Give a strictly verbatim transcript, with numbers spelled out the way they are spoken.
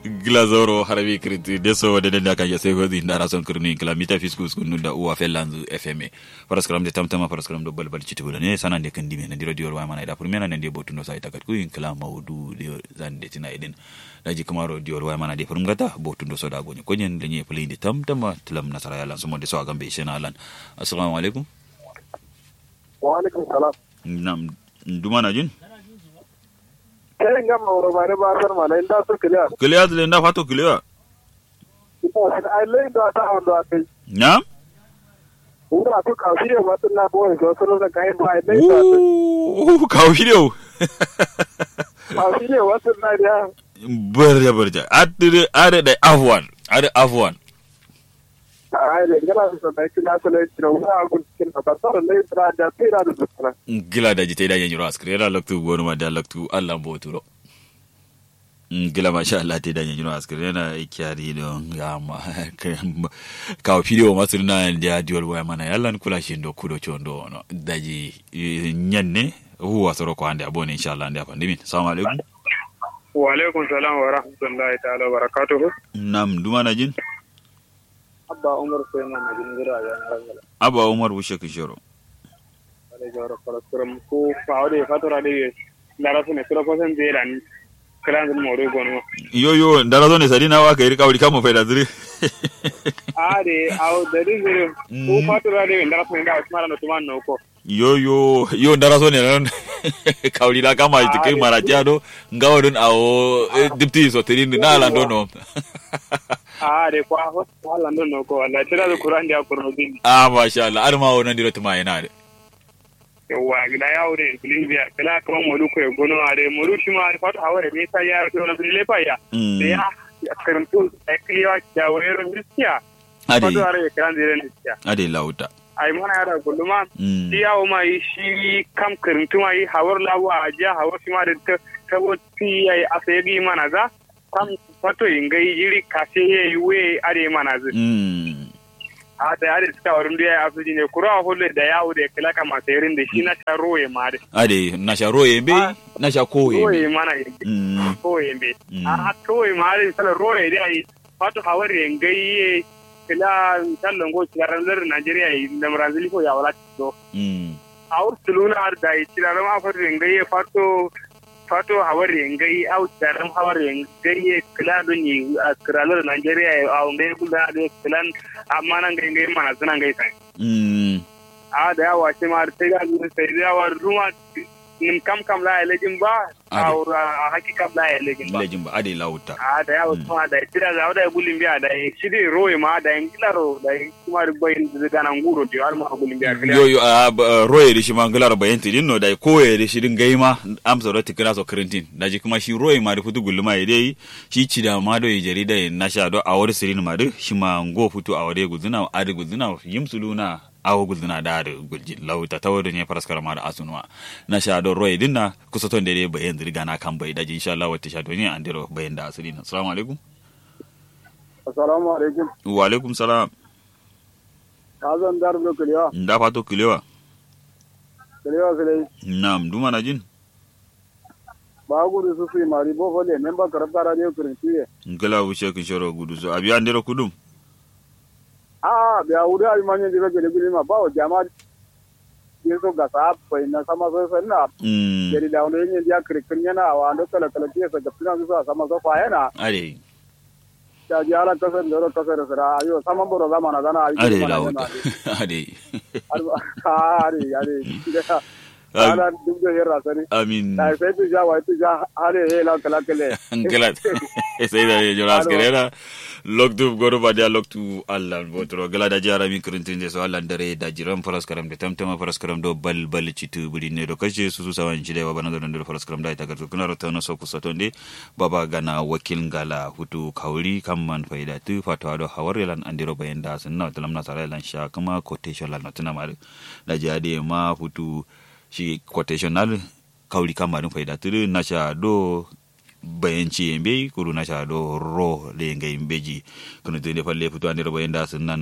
Gla zauro harami kirti deso dede nda kanja sai hozi nda rason kirnu inkila mita fisku skunu da uwa fellanzu fma. Faraskaram de tamtama faraskaram do balbal citibu da ne sanan de kandime nandiro diyor waya mana ida furmena nande botundo sai takatku inkila maudu de zande tina idin. Daji kamaro diyor waya mana de furmgata botundo so da gonye konyen lenye play de tamtama tilam nasara yalan sumo de so agambe shena lan. Assalamu alaikum. Wa alaikum salam. Nam. Duma na jin? Kai ngam auro mare ba san mala inda su kiliya. Kiliya zile nda fato kiliya. Ai lai da ta wando akai. Nam? Ura to ka fiye matun na boye so sun da kai ba ai lai da. Uu ka fiye. Ka fiye matun na da. Barja barja. Adde adde da afwan. Adde afwan. Ai lai ngala so da kila so lai tira ura gun kin ba so lai tira da tira da. Gila da jite da yanyi ro askri da loktu gonu ma da loktu Allah boturo. Gila masha Allah te da nyanyi no askar yana kyari don gama. Kawo fidiyo masu nuna da diwol waya mana yallan kula shi do kudo chondo no daji. Nyanne huwa soro ko ande abone insha Allah ande afan dimin. Assalamu alaikum. Wa alaikum salam wa rahmatullahi ta'ala wa barakatuhu. Nam duma na jin. Abba umar sai ma na jin gira da na rangala. Abba umar wushe kishiro. Ade jawara kala kuram ku fawo de fatura de ye. Ndara sone kula kosen de lan. Kala ngun moru gonuma. Yo yo ndara sone sadi na wa kairi kawri kamo faida zuri. Ade awo dadi zuri. Ku fatura de ndara sone da usmara no tuman no ko. Yo yo yo ndara sone nan. Kawri la kama tikai maratiya do. Ngawo dun awo dipti so tirin na lando no. Ade kwa ho lando no ko wala tira do kuran dia kurno bin. Ah masha Allah ar ma wonan diro tuma yana de. Yawwa gida ya wure kulin biya kala kuma molu ko gono are molu shi ma fato haware ne sai ya to na bile fa ya. Ya karantu ai kiyo ya wayro miskiya. Ade fato are kan dire ne ya. Ade lauta. Ai mana ya da guluma. Shi ya o ma yi shi kam karantu ma yi hawar lawa ajiya hawar shi ma da ta tabo ti yayi asayagi mana za. Kam fato ingai jiri kase ye we are mana zu. A da are suka warin duya ya su jine kura holle da yawo da kala kama sayirin da shi na sha roye ma da. Ade na sha roye be na sha koye roye mana ye. Koye be. A koye ma da sala roye da yi. Fato hawar ye ngai ye kala sallan go cigaran lar Nigeria yi da Brazil ko ya wala to. Awur tuluna ar da yi cigaran ma fato ye ngai ye fato. Fato hawar ye ngai au cigaran hawar ye ngai ye kala don yi a kiralar Nigeria ye au ngai kula da kala. Amma nan ngai ngai mana suna ngai sai. A da yawa shi ma sai da sai da yawa ruma. Nim kam kam la ya lejin ba. A haki kam la ya lejin ba. Lejin ba ade lauta. A da yawa kuma da tira da da gulin biya da shi dai roye ma da yin gilaro da kuma bayin da gana nguro da har ma gulin biya. Yo yo a roye da shi ma gilaro bayin tidin no da koye da shi din gaima. Amsa da tikira so kirintin da ji kuma shi roye ma da futu gulma ya dai. Shi cida ma do jari da na sha do a wari sirin ma da shi ma ngo futu a wari guzuna adi guzuna yim suluna. Awo gulzina da adǝ gulji lau tatawo dǝ nye faraskara ma dǝ asunuwa. Na sha do roye dǝn na kusoton dede bayen zǝ dǝ gana kam bai daji insha Allah watte sha do nye andero bayen da asǝ dǝn. Assalamu alaikum. Assalamu alaikum. Wa alaikum salam. Azan dar do kiliwa. Nda fato kiliwa. Kiliwa kiliwa. Nam duma na jin. Ba gudu su sui mari bo fole men ba karab kara de kurin tuye. Ngla wuce kin shoro gudu su abi andero kudum. A'a biya wuri abi ma nyen diro gele guli ma bawo jama. Yeso gasa bai na sama so sanna. Gari da wani nyen dia kiri kiri yana awa ando kala kala dia sa gapina su sa sama so fa yana. Ade. Ta ji ala kasar ndoro kasar sira ayo sama boro zama na zana ayo. Ade lawo. Ade. Ade ade. Ala duk da herra sani. Amin. Da sai tu ja wai tu ja hale he la kala kale. Ngala. Sai da jora askere na. Loktu goro ba dia loktu Allah botro gala da jara mi kurintinde so Allah dare da jiran faras karam da tamtama faras karam do bal bal citu buri ne do kashe su su sawan ci da baba na do faras karam da ita garto kuna rota na so kusa tonde. Baba gana wakil ngala hutu kauri kamman faida tu fatwa do hawar lan andiro bayan da sunna talam nasara lan sha kuma quotation lan tuna mari. Da jadi ma hutu shi quotation nal. Kauri kamma dǝn faida tǝdǝ nasha do. Bayanci ye mbeyi kuru nasha do ro le ngai mbeji. Kǝnu tǝnde falle futu andero bayanda sǝnna.